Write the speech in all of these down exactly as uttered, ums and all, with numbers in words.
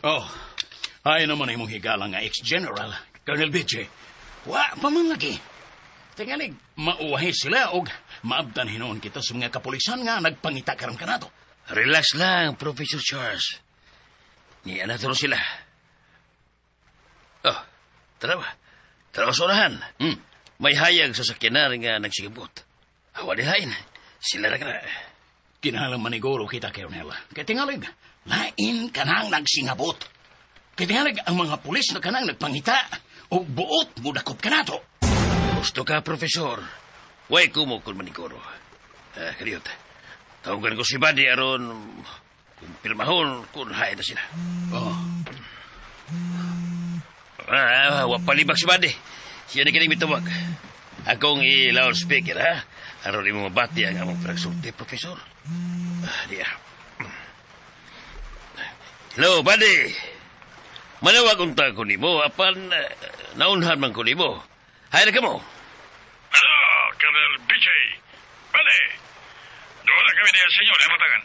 Oh, ay naman imong higala nga ex-general, Colonel B J. Wa pa man lagi. Tingalig, mauwahi sila og maabtan hinuon kita sa mga kapulisan nga nagpangita karon kanato. Relax lang, Professor Charles. Ni na sila. Oh, tara ba? Tara sa unahan. Hmm. May hayag sa sakyanan nga nagsingabot. Awa dihain. Sila na kana. Kinahanglan maniguro kita, Colonel. Kay tingalig, lain kanang nagsingabot. Kay tingalig, ang mga pulis na kanang nagpangita og buot mudakop kanato. Gusto ka, Profesor. Way kumo kung maniguro. Uh, kaliyot. Tawagan ko si Buddy aron kumpirmahon kung hain na sila. Oh. Ah, wa palibak si Buddy. Siya na kining mitawag. Akong i-loudspeaker, ha? Aron imo mabati ang among pagsulti, Profesor. Ah, diya. Hello, Buddy. Manawag unta ko nimo apan uh, naunhan man ko nimo. Hay na kamo. Hello, Colonel B J. Bale, doon na kami diya sa inyo, nabatangan.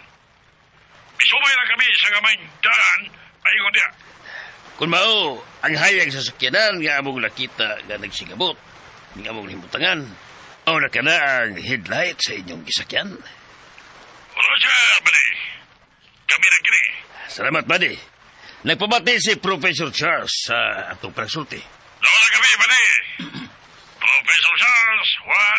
Misumay na kami sa gamayng daan, paingon diya. Kung mao, ang hayag sa sakyanan nga among nakita nga nagsingabot, nga among himutangan, mao na kana ang headlight sa inyong gisakyan? Roger, Buddy. Kami na kini. Salamat, Buddy. Nagpabati si Professor Charles sa atong pagsulti. Doon na kami, Buddy. Professor Charles, wala